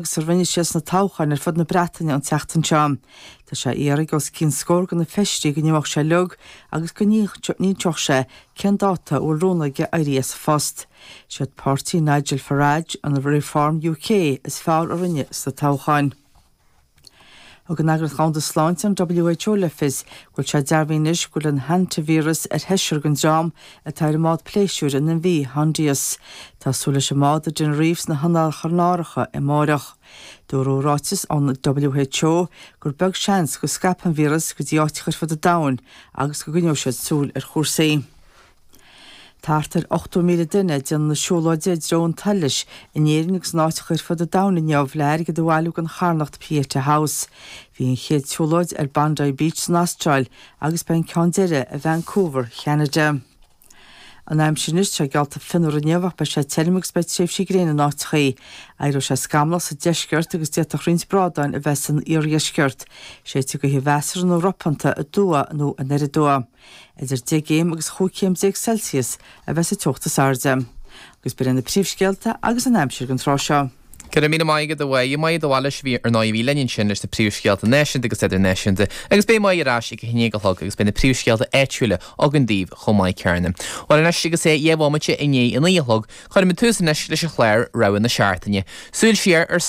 Agus a rinne sé sna toghcháin ar fud na Breataine an tseachtain seo. Tá sé á iarraidh ag os cionn scór de na feisirí go n-imeodh sé uilig agus go n-inseodh sé cén dáta a bhfuil rún aige éirí as a phost. Siad páirtí Nigel Farage, an Reform UK, is fearr a rinne sna toghcháin. Thug an Eagraíocht Dhomhanda Sláinte, an WHO, le fios go bhfuil sé dearbhaithe anois go bhfuil an hantavíreas ar sheisear den dream atá ar an mbád pléisiúir an MV Hondius. Tá súil leis an mbád i dTenerife sna hOileáin Chanáracha amáireach. Dúradh i ráiteas ón WHO gur beag seans go scaipfidh an víreas go dtí áiteacha ar fud an domhain agus go gcoinneoidh siad súil ar chúrsaí. Thart ar 80,000 duine ag déanamh na siúlóide i dtreo an tsolais in Éirinn agus in áiteacha ar fud an domhain inniu le airgead a bhailiú don charthanacht Pieta House. Bhí an chéad tsiúlóid ar Bondi Beach san Astráil agus beidh an ceann deiridh i Vancouver, Cheanada. An aimsir anois, tá sé geallta fionnuar inniu ach beidh sé tirim agus beidh tréimhsí gréine in áiteachaí. Éireoidh sé scamallach sa deisceart agus d'fhéadfadh roinnt brádáin a bheith san iardheisceart. Séidfidh gaoth mheasartha nó ropánta aduaidh nó anoir aduaidh. Idir 10 gcéim agus 15 chéim Celsius a bheas an teocht is airde. Agus b'in iad na príomhscéalta agus an aimsir don tráth seo. Go raibh míle maith agat a Mháire. Máire de Bhailís a bhí ar ndóigh a bhí linn ansin leis na príomhscéalta náisiúnta agus idirnáisiúnta agus beidh Máire ar ais ag a haon déag a chlog agus beidh na príomhscéalta áitiúla againn daoibh chomh maith céanna. Bhuel anois agus é 2 bhomaite i ndiaidh a naoi a chlog, cuirfimid tús anois leis an chlár Rogha na Seachtaine. Súil siar ar.